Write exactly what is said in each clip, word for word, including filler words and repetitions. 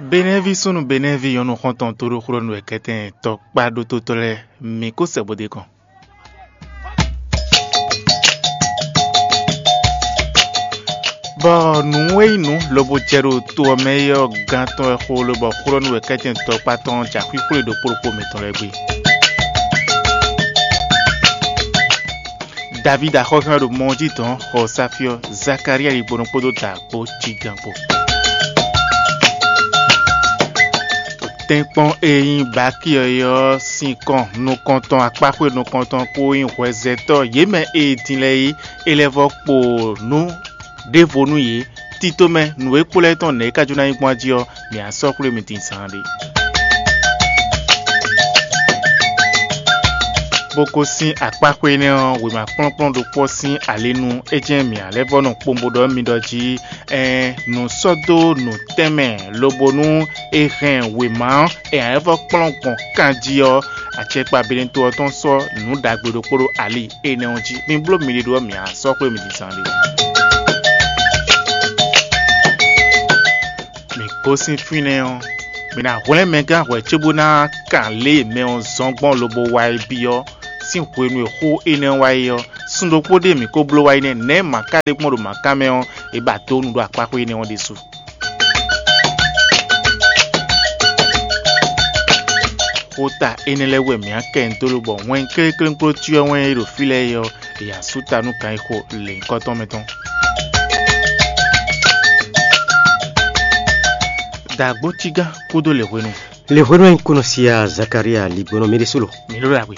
Benɛ́ví súnnu Benɛ́ví nyɔ̌nu xɔ́ntɔn tóɖóxlɔ́nú wɛ kɛ́tɛn tɔkpá ɖótótɔ́ lɛ́ɛ, mǐ kó sɛ bó dó kɔn. Bɔ nǔ e nyí nǔ lobo jɛ ɖo to ɔ́ mɛ é ɔ́ gán tɔn wɛ xó lobɔ xlɔ́nú wɛ kɛ́tɛn tɔkpá tɔn ja xwíxwlé ɖokpó ɖokpó mǐtɔn lɛ́ɛ gbe. Davídi axɔ́súnɔ ɖo mɔ ɔ́ jí dɔn xɔ Safyɔ́, Zakalía ɖigbonɔ kpódó dǎ kpó jígán kpó. Tɛ́nkpɔ́n e nyí Bakíɔ é ɔ́ sín kɔn nukɔntɔn akpáxwé nukɔntɔn kpó nyí hwɛzɛtɔ́ yě mɛ e din lɛ́ɛ é lɛ́ vɔ́ kpo nǔ ɖěvo nú yě. Tito mɛ nǔ e kpo lɛ́ɛ tɔn nɛ̌ é ka jó ná nyí gbɔn jí ɔ́, mǐ á sɔ́ xwlé mi din zaan ɖé. Bó gosín akpáxwé énɛ́ ɔ́, wěma kplɔ́nkplɔ́n ɖokpó ɔ́ sín ali nu, é jɛ́n mǐ ǎ lɛ́ vɔ́ nɔ kpowun bó ɖɔ nú mi ɖɔ jí, ɛɛn, nǔ sɔ́ dó nǔ tɛnmɛ, lobo nú è hɛn wěma ɔ́, è ǎ lɛ́ vɔ́ kplɔ́n gbɔn kan jí ɔ́, acɛkpa Benɛto ɔ́ tɔn sɔ́ nǔ ɖagbe ɖokpó ɖó ali énɛ́ ɔ́ jí. Mi bló miɖée ɖó ɔ́, mǐ á sɔ́ xwlé mi din zaan ɖé. Mǐ gosín fínɛ́ ɔ́, mǐ ná hwlɛ́n mɛ gán hwɛ̌ cóbó ná kan lě e mɛ ɔ́ zɔ́n gbɔn lobo wá é byɔ́ sín hwenu e xó énɛ́ ɔ́ wá é ɔ́, sun ɖokpó ɖé mǐ ko bló wá é nɛ́, nɛ̌ mǎ ka ɖe gbɔn ɖo mǎ kan mɛ ɔ́, è ba dó nu ɖó akpáxwé énɛ́ ɔ́ ɖésú. Xota énɛ́ lɛ́ɛ wɛ mǐ á kɛ nyi dó lobɔ wɛn kléklénkpló cyɔ wɛn e ɖo fí lɛ́ɛ é ɔ́, è yǎ sú ta nú kan e xo lěhunkɔtɔn mɛ tɔn. Dǎgbó cígán kúdó lě hwenu. Lě hwenu e un kú nɔ si a Zakalía ligbɔnɔ mi ɖésú lo. Mi ɖó ɖagbe.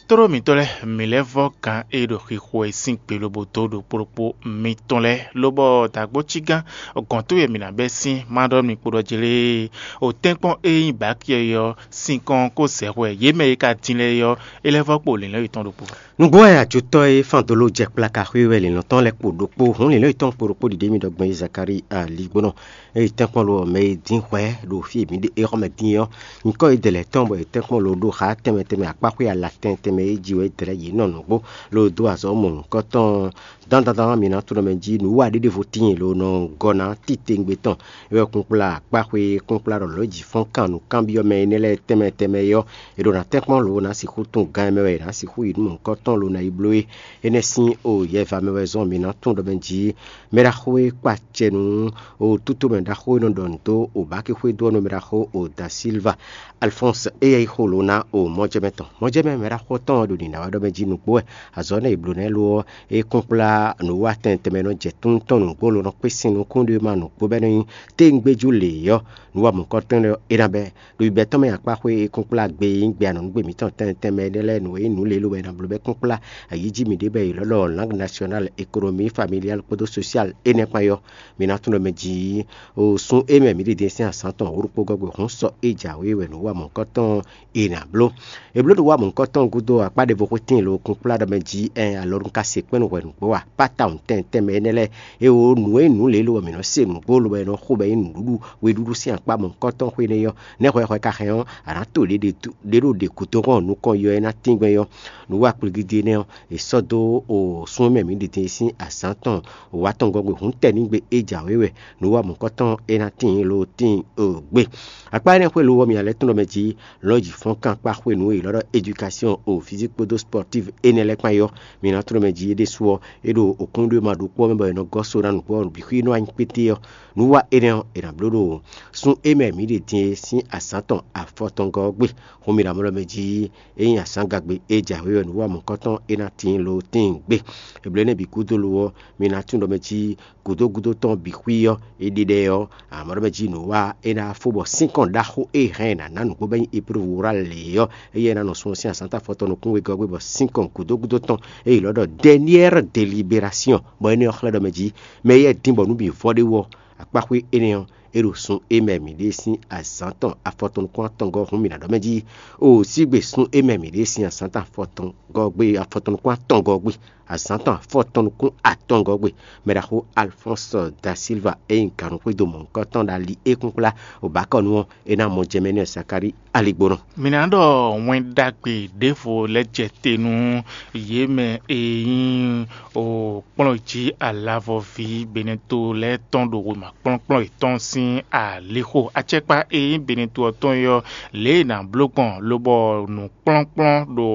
Tlóló mǐtɔn lɛ́ɛ, mǐ lɛ́ vɔ́ gǎn e ɖo xixo e sín gbe lobo dó ɖokpó ɖokpó mitɔn lɛ́ɛ, lobɔ dǎgbó cígán gɔ̌n towe mǐ ná bɛ́ sín má ɖɔ mi kpo ɖɔ jlé. O tɛ́nkpɔ́n e nyí Baki ɔ́, sinkɔn ko zɛ hwɛ yě mɛ e ka din lɛ́ɛ é ɔ́, é lɛ́ vɔ́ kpo lǐnlɔ́n yětɔn ɖokpó. Nǔgbó wɛ ajotɔ́ e fán dó ló jɛ kplaka xwé wɛ lǐnlɔ́n tɔn lɛ́ɛ kpo ɖokpó, hǔn lǐnlɔ́n yětɔn kpo ɖokpó ɖiɖe mì ɖɔ gbɔn Zakalía ligbɔnɔ. Eye tɛ́nkpɔ́n lo ɔ́, mɛ e dín hwɛ ɖo fí e mǐ ɖe é xɔ mɛ dín é ɔ́, nyǐkɔ e dɛ̌ lɛ́ɛ tɔn bɔ è tɛ́nkpɔ́n lo ɖó xá tɛnmɛ tɛnmɛ akpáxwé ala tɛn tɛnmɛ e jí wɛ é dɛ̌ lɛ́ɛ yě nɔ nǔgbó lo dó azɔ̌ mɔ nǔkɔ́tɔn dandan mǐ ná tunɔ mɛ jí nǔ wa ɖé ɖěvo tíin lo nɔ gɔ́ ná titewungbe tɔn. É wɛ kunkplá akpáxwé kunkplá ɖɔ lɔ̌ jǐ fɔ́n kan nǔkanbyɔ́ mɛ énɛ́ lɛ́ɛ tɛnmɛ tɛnmɛ é ɔ́, è ɖo ná tɛ́nkpɔ́n lo ná sixú tún gán mɛ wɛ è nǎ sixú yi nú mɔ̌hunkɔtɔn lo ná yi bló é. Énɛ́ sín o yɛva mɛ wɛ zɔ́n mǐ ná tunɔ mɛ jí mɛ ɖaxó e kpa acɛ nú o tútomɛ ɖaxó e nɔ ɖɔ nǔ dó o Baki xwedó ɔ́ nú mɛ ɖaxó o Da Silva Alfɔ́ns, éyɛ́ nyí xó lo ná o mɔjɛmɛ tɔn. Mɔjɛmɛ mɛ ɖaxó tɔn ɔ́ ɖo nǐ ná wɛ ɖɔ mɛ jí nǔgbó wɛ. Azɔ̌ énɛ́ e è blǒ ná ɛ lo ɔ́, é kún kplá nǔwiwa tɛn tɛnmɛ e nɔ jɛ tún tɔn nǔgbó lo nɔ kpé sín nukún ɖé ma nǔgbó bɔ é nɔ nyí téwungbéjú lě é ɔ́, nǔ wa mɔ̌hunkɔtɔn lɛ́ɛ ɔ́, é ná bɛ́. Ɖo yibɛ́ tɔn mɛ akpáxwé e kún kplá gbe e nyí gbe anɔ̌nugbe mǐtɔn tɛnmɛ tɛnmɛ énɛ́ lɛ́ɛ nǔ e nyí nǔlélo wɛ è nɔ bló bɔ é kún kplá ayǐ jí mǐ ɖe bɔ è lɔ̌ ɖɔ langue nationale, économie familiale kpódó sociale énɛ́ kpán é ɔ́, mǐ ná tunwun ɖɔ mɛ jǐ o sun e mɛ mǐ ɖe din sín azǎn tɔn wǒ ɖokpó gɔ́ gbe hǔn sɔ é jǎwe wɛ nǔ wa mɔ̌hunkɔtɔn è nǎ bló. È blǒ nǔ wa mɔ̌hunkɔtɔn gúdo akpá ɖěvo xwé tíin lo kún kplá ɖɔ mɛ jí ɛn alɔ nú ka se kpɛ́n nú hwɛ nǔgbó a? Pátá tɛnmɛ tɛnmɛ énɛ́ lɛ́ɛ, é wǒ nǔ e nǔ lě lo wɛ mǐ nɔ se nǔgbó lo wɛ è nɔ xo bɔ é nyí nǔɖuɖu weɖúɖú sín akpá mɔ̌hunkɔtɔn xwé nɛ́ ɔ́, nɛ́ hwɛ hwɛ ka hɛn ɔ́, a nǎ to ɖě ɖě dó ɖě ɖo ɖě gǔdo hɔn nukɔn yɔ é ná tíngbɛ́n ɔ́. Nǔ wa kpligidiénɛ́ ɔ́, è sɔ́ dó o súnmɛ mǐ ɖi din sín azǎn tɔn wǎ tɔn gɔ́ gbe hǔn tɛnígbe é jǎwe wɛ nǔ wa mɔ̌kɔ́tɔn é ná tíin lo tíin o gbe. Akpá énɛ́ xwé lo ɔ́, mi ná lɛ́ tlɔ́n mɛ jí lɔ̌ ji fɔ́n kan kpá xwenu e è ylɔ́ ɖɔ éducation o physique kpódó sportive énɛ́ lɛ́ɛ kpán é ɔ́, mi ná tlɔ́n mɛ jí é ɖésú ɔ́, é ɖo òkúnɖéwúma ɖokpó ɔ́ mɛ bɔ è nɔ gɔ́ so ná nǔgbó ɔ́ bǐ xwí nú anyíkpété ɔ́. Nǔ wa énɛ́ ɔ́, è nǎ bló ɖo sun e mɛ mǐ ɖe din é sín azǎn tɔn afɔtɔngɔ́ ɔ́ gbe. Xó mi ɖo amlɔ mɛ jí é nyí azǎn gagbe e jǎwe wɛ nǔ wa mɔ̌kɔ́tɔn é ná tíin lo tíin gbe. Eblo énɛ́ bǐ gúdo lo ɔ́, mi ná tunwun ɖɔ mɛ jí gǔdo gúdo tɔn bǐ xwí ɔ́, é ɖe ɖɛ ɔ́, amɔ̌ ɖɔ mɛ jí nǔ wa é ná fó bɔ sínkɔn ɖaxó e hɛn è nǎ ná nǔgbó bɔ é nyí épreuve orale ɔ́, éyɛ́ ná nɔ sun ɔ́ sín azǎn ta fɔtɔn nukún wegɔ́ gbe bɔ sínkɔn gǔdo gúdo tɔn e è ylɔ́ ɖɔ dernière délibération, bɔ énɛ́ ɔ́ xlɛ́ ɖɔ mɛ jí mɛ éyɛ́ dín bɔ nǔ bǐ vɔ ɖé wú ɔ́, akpáxwé énɛ́ ɔ́, é ɖo sun e mɛ mǐ ɖe sín azǎn tɔn afɔtɔn nukún atɔngɔ́ hun mì ná ɖɔ mɛ jí. O sígbe sun e mɛ mǐ ɖe sín azǎn tɔn afɔtɔngɔ́ gbe afɔtɔn nukún atɔngɔ́ gbe. Azǎn tɔn afɔtɔn nukún atɔngɔ́ gbe, mɛɖaxó Alphonse da Silva e nyí gǎnúxwédo mɔ̌hunkɔtɔn ɖo ali e kúnkplá Obakɔnu ɔ́, é ná mɔ jɛ mɛ n'i Sakáli aligbónɔ. Mǐ ná ɖɔ wɛn ɖagbe ɖěvo lɛ́ jɛ te nú yě mɛ e nyí o kplɔ́n jí alavɔví Beneto lɛ́ɛ tɔn ɖo wěma kplɔ́nkplɔ́n yětɔn sín alixo. Acɛkpa e nyí Beneto ɔ́ tɔn é ɔ́, lě e è nǎ bló gbɔn lobɔ nǔkplɔ́nkplɔ́n ɖo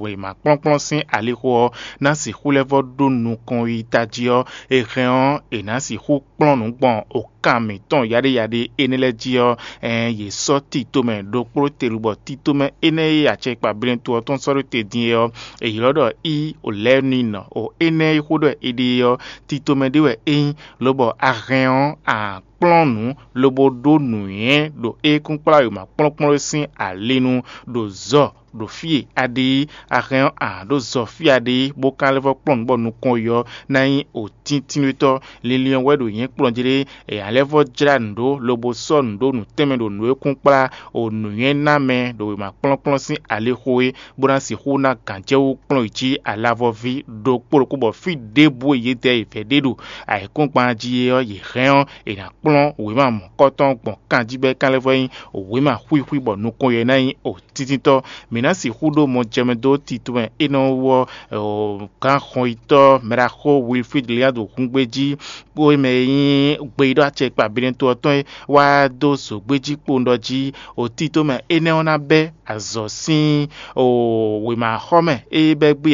wěma kplɔ́nkplɔ́n sín alixo ɔ́ ná sixú lɛ́ vɔ́ ɖó nukɔn yi tají ɔ́, è hɛn ɔ́, è nǎ sixú kplɔ́n nǔ gbɔn okan mǐtɔn yaɖéyaɖé énɛ́ lɛ́ɛ jí ɔ́, ɛɛn yě sɔ́ tito mɛ ɖokpló te lobɔ tito mɛ énɛ́ e acɛkpa Beneto ɔ́ tɔn sɔ́ ɖó te din é ɔ́, è ylɔ́ ɖɔ í o lɛ́ɛ nɔ o énɛ́ e xó ɖɔ è ɖe é ɔ́, tito mɛ ɖé wɛ é nyí, lobɔ a hɛn ɔ́, a kplɔ́n nǔ lobo ɖó nǔnywɛ́ ɖo é kún kplá wěma kplɔ́nkplɔ́n sín ali nu ɖo zɔ ɖo fí e a ɖe é, a hɛn ɔ́, a ɖó zɔ fí a ɖe é, bó ka lɛ́ vɔ́ kplɔ́n nǔ bɔ nukɔn yi ɔ́ ná nyí òtíntínnútɔ́. Linlin ɔ́ wɛ ɖo nyɛ̌ kplɔ́n jí ɖé, è ǎ lɛ́ vɔ́ jlá nǔ ɖó lobo sɔ́ nǔ ɖó nǔ tɛnmɛ ɖo nǔ e kún kplá o nǔnywɛ́ ná mɛ ɖo wěma kplɔ́nkplɔ́n sín alixo é, bó ná sixú ná gǎnjɛwú kplɔ́n yi jí alavɔví ɖokpó ɖokpó bɔ fí ɖěbǔ e yědɛɛ yi vɛ̌ ɖe ɖo ayǐkúngban jí é ɔ́, yě hɛn ɔ́, è nǎ kplɔ́n wěma mɔ̌kɔtɔn gbɔn kanjí bɔ é ka lɛ́ vɔ́ nyí wěma xwíxwí bɔ nukɔn yɛ ná nyí òtítítɔ́. Mǐ ná sixú ɖó mɔjɛmɛ dó tito mɛ énɛ́ wú ɔ́, gǎn xɔnyitɔ́ mɛɖaxó Wilfrid Liado húngbéjí kpó mɛ e nyí gbeyíɖɔ acɛkpa Beneto ɔ́ tɔn é wá dó zǒgbéjí kpowun ɖɔ jí òtítɔ́ mɛ énɛ́ ɔ́ ná bɛ́ azɔ̌ sín wěmaxɔmɛ e bɛ́ gbé